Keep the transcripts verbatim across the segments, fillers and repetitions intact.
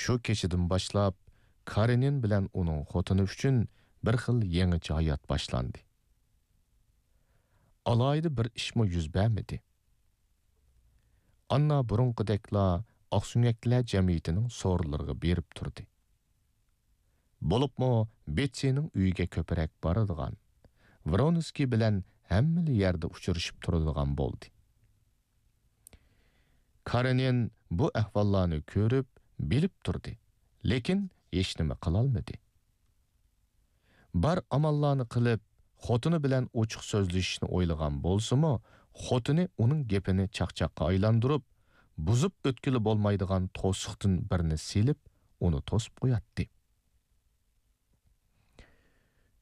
شۇ كېچىدىن باشلاپ كارېنىن بىلەن ئۇنىڭ خوتۇنى ئۈچۈن بىر خىل يېڭىچە ھايات باشلاندى. ئالاھىدە بىر ئىشمۇ يۈز بەرمىدى. ئاننا بۇرۇنقىدەكلا ئاقسۆڭەكلەر جەمئىيىتىنىڭ سورۇنلىرىغا بېرىپ تۇردى. بولۇپمۇ بېتسىنىڭ ئۆيىگە كۆپرەك بارىدىغان، ۋرونسكىي بىلەن ھەممىلا يەردە ئۇچرىشىپ تۇرىدىغان بولدى. كارېنىن بۇ ئەھۋاللارنى كۆرۈپ، بىلىپ تۇردى، لېكىن ھېچنېمە قىلالمىدى. بار ئاماللارنى قىلىپ، خوتۇنى بىلەن ئوچۇق سۆزلىشىشنى ئويلىغان بولسىمۇ، خوتۇنى ئۇنىڭ گېپىنى چاقچاققا ئايلاندۇرۇپ، بۇزۇپ ئۆتكىلى بولمايدىغان توسۇقتىن بىرنى سېلىپ، ئۇنى توسۇپ قوياتتى.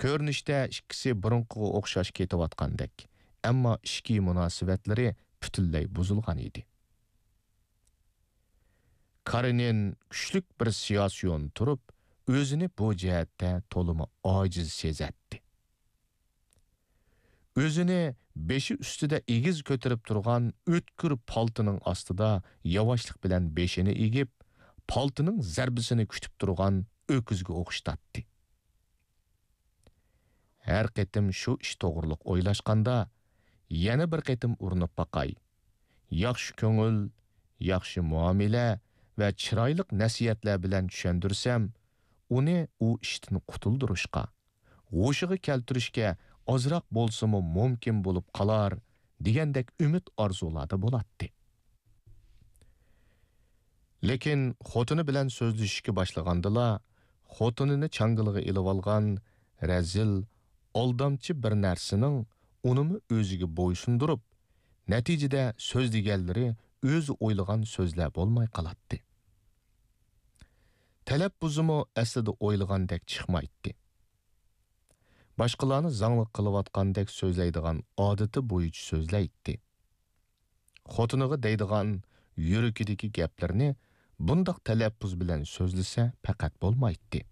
كۆرۈنۈشتە ئىككىسى بۇرۇنقىغا ئوخشاش كېتىۋاتقاندەك، ئەمما ئىچكى مۇناسىۋەتلىرى پۈتۈنلەي بۇزۇلغان ئىدى. كارېنىن كۈچلۈك بىر سىياسىيون تۇرۇپ، ئۆزىنى بۇ جەھەتتە تولىمۇ ئاجىز سېزەتتى. ئۆزىنى بېشى ئۈستىدە ئېگىز كۆتۈرۈپ تۇرغان ئۆتكۈر پالتىنىڭ ئاستىدا ياۋاشلىق بىلەن بېشىنى ئېگىپ، پالتىنىڭ زەربىسىنى كۈتۈپ تۇرغان ئۆكۈزگە ئوخشىتاتتى. ھەر قېتىم شۇ ئىش توغرۇلۇق ئويلاشقاندا، يەنە بىر قېتىم ئۇرۇنۇپ باقاي. ياخشى كۆڭۈل، ياخشى مۇئامىلە ۋە چىرايلىق نەسىھەتلەر بىلەن چۈشەندۈرسەم، ئۇنى ئۇ ئىشتىن قۇتۇلدۇرۇشقا، ھوشىغا كەلتۈرۈشكە ئازراق بولسىمۇ مۇمكىن بولۇپ قالار، دېگەندەك ئۈمىد ئارزۇلاردا بولاتتى. لېكىن خوتۇنى بىلەن سۆزلىشىشكە باشلىغاندىلا، خوتۇنىنى چاڭگىلىغا ئېلىۋالغان رەزىل، ئالدامچى بىر نەرسىنىڭ ئۇنىمۇ ئۆزىگە بويسۇندۇرۇپ، نەتىجىدە سۆزلىگەنلىرى ئۆزى ئويلىغان سۆزلەر بولماي قالاتتى. تەلەپپۇزىمۇ ئەسلىدە ئويلىغاندەك چىقمايتتى. باشقىلارنى زاڭلىق قىلىۋاتقاندەك سۆزلەيدىغان ئادىتى بويىچە سۆزلەيتتى. خوتۇنىغا دەيدىغان يۈرىكىدىكى گەپلىرىنى بۇنداق تەلەپپۇز بىلەن سۆزلىسە پەقەت بولمايتتى.